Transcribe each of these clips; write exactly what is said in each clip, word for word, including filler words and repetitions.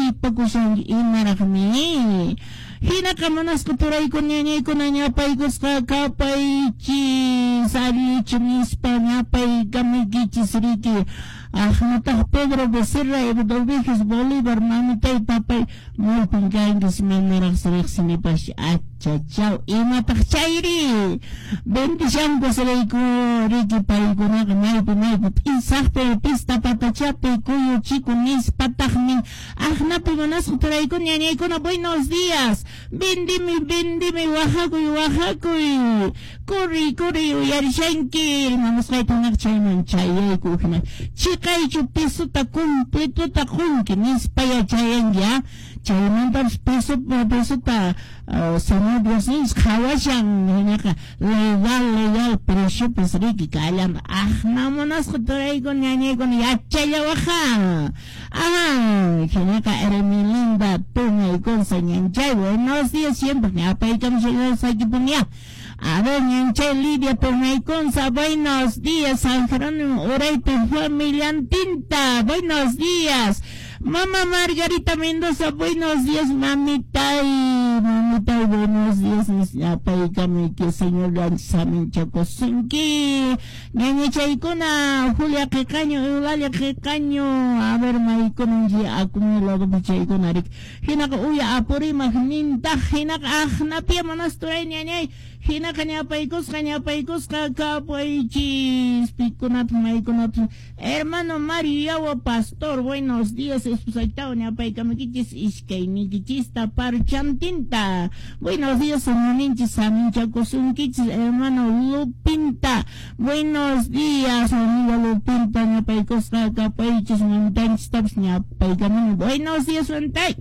aypakushanki imaraqmi. Hinaqa munasqa turaykuna ñañaykuna ñapaykusqa kapaychis allichu nispa ñapaykamuykichis riki. Aqnataq Pedro Becerra Eduviges Bolívar mamitay papay maypin kankis manaraq riqsinipash achachaw imataq chayri bendishankus rayku riki paykunaqa maypi maypi p'isaqpi pista patachapi kuyuchiku nispataqmi aqnapi munasqa turaykuna ñañaykuna buenos días vendimi vendimi wajakuy wajakuy corri corri uyarishanki rimamusqayta chayman chayayku hina chiqaychu pesota completota qunki nispa yachayanki a chaymantapas peso pesota uh, Señor Dios nis qhawashan hinaqa legal legal preciopas riki kallan aqna munasqa turaykuna ñañaykuna yachallawaqa ah hinaqa Hermelinda Tuñaykunsa ñanchay buenos días siempre ñapaykamushallasakipunya. A ver, ñanchay Lidia Tuñaykunsa, buenos días, San Jerónimo Uraypi familiantinta, buenos días. Mamá Margarita Mendoza, buenos días, mamitay, mamitay, buenos días, ñapaykamuyki, señor saminchakusunki. Ñañachaykuna, Julia Qiqaño, Eulalia Qiqaño, a ver, maykuna acumulado chaykuna riki. Hinaqa uya Apurímac nintaq, hinaqa aqnapia manasturay ñañay, hinaqa ñapaykusqa, ñapaykusqa kapaychis, pikunata, maykunata. Hermano Mario Yawa Pastor, buenos días, esposaytaw ñapaykamukichis iskaynikichista parchantinta. Buenos días, señorninchis, saminchakusunkichis, hermano Lupinta. Buenos días, amiga Lupinta, ñapaykusqa kapaychis, mamitaychistapas ñapaykamuni. Buenos días, wantay.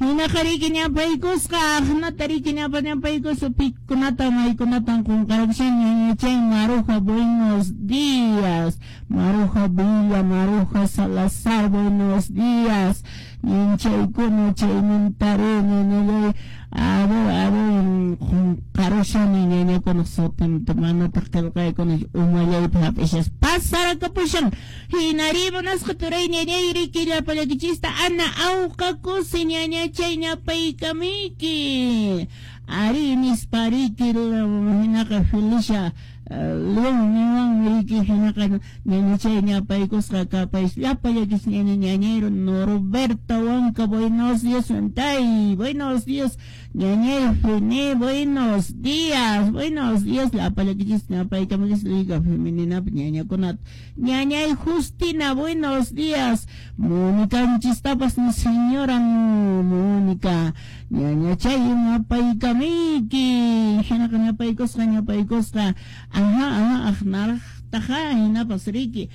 Hinaqa riki ñapaykusqa, aqnata riki ñapa ñapaykusqa, pikunata maykunatan qunqarapushan ñañachay Maruja, buenos días. Maruja Villa, Maruja Salazar, buenos días. Ñanchaykuna chaymantare ñañallay. A ver, a ver, qunqarushani ñañakuna sutinta manataq qillqaykuna umallaypi hap'ishas pasarakapusan. Hinari munasqa turay ñañay riki llapallaykichista Ana awqakusi ñañachay ñapaykamiyki. Ari nispa riki hinaqa Felicia León niwanmi riki hinaqa ñañachay ñapaykusqa kapay llapallaykichis ñaña ñañayro Norberto Huanca, buenos días, wantay, buenos días, ñañay Fene, buenos días, buenos días, llapallaykichis ñapaykamuykichis Liga Femenina ñañakunata. Ñañay Justina, buenos días, Mónica-nchistapas señora Mónica, ñañachay ñapaykamiyki, hinaqa ñapaykusqa ñapaykusqa, ajá, ajá, aqnaraqtaqa hinapas riki.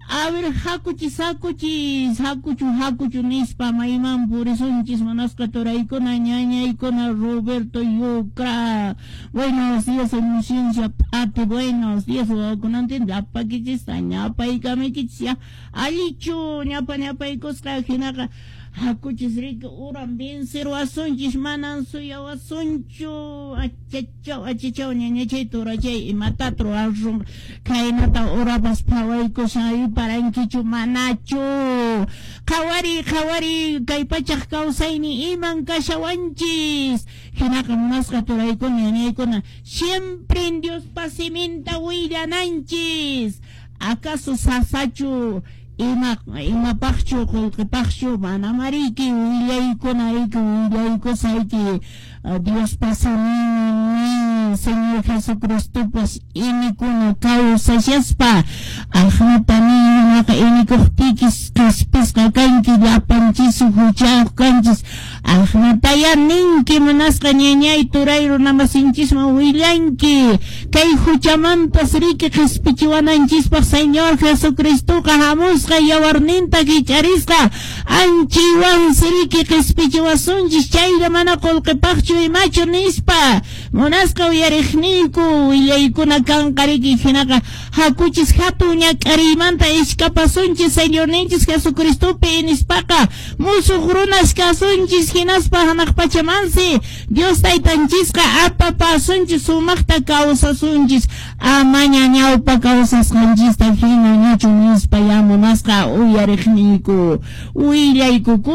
A ver, hakuchis, hakuchis, hakuchu, hakuchu nispa mayman purisunchis munasqa turaykuna ñañaykuna Roberto Yucra. Buenos días, Inocencia Pati, buenos días, wawakunantin llapakichista ñapaykamiykichis ya. Allichu ñapa ñapaykusqa hinaqa hakuchis riki uran vencerwasunchis manan suyawasunchu achachaw achachaw ñañachay turachay imata ruwasun khaynata urapas phawaykushan parankichu manachu qhawari qhawari kay pachaq kawsayni iman kashawanchis hinaqa munasqa turaykuna ñañaykuna siempre en Diospa siminta willananchis acaso sasachu ima imapaqchu qullqipaqchu manamariki willaykuna riki willaykusayki Diospa siminmi Señor Jesucristopas inikuna kawsashaspa aqnata ninaqa inikuqtiykis qhispisqa kanki llapanchis huchayuq kanchis aqnataya ninki munasqa ñañay turay runamasinchisman willanki kay huchamantas riki qhispichiwananchispaq Señor Jesucristoqa hamusqa yawarninta hich'arisqa anchaywansi riki qhispichiwasunchis chaylla mana qullqipaqchu imachu nispa munasqa uyariqniyku willaykuna kanqa riki hinaqa hakuchis hatun ñak'ariymanta ishkapasunchis Señorninchis Jesucristopi nispaqa musuq runas kasunchis hinaspa hanaq pachamansi Dios taytanchisqa apapasunchis sumaqta kawsasunchis amaña ñawpa kawsasqanchista hina ñachu nispa ya munasqa uyariqniyku willaykukus.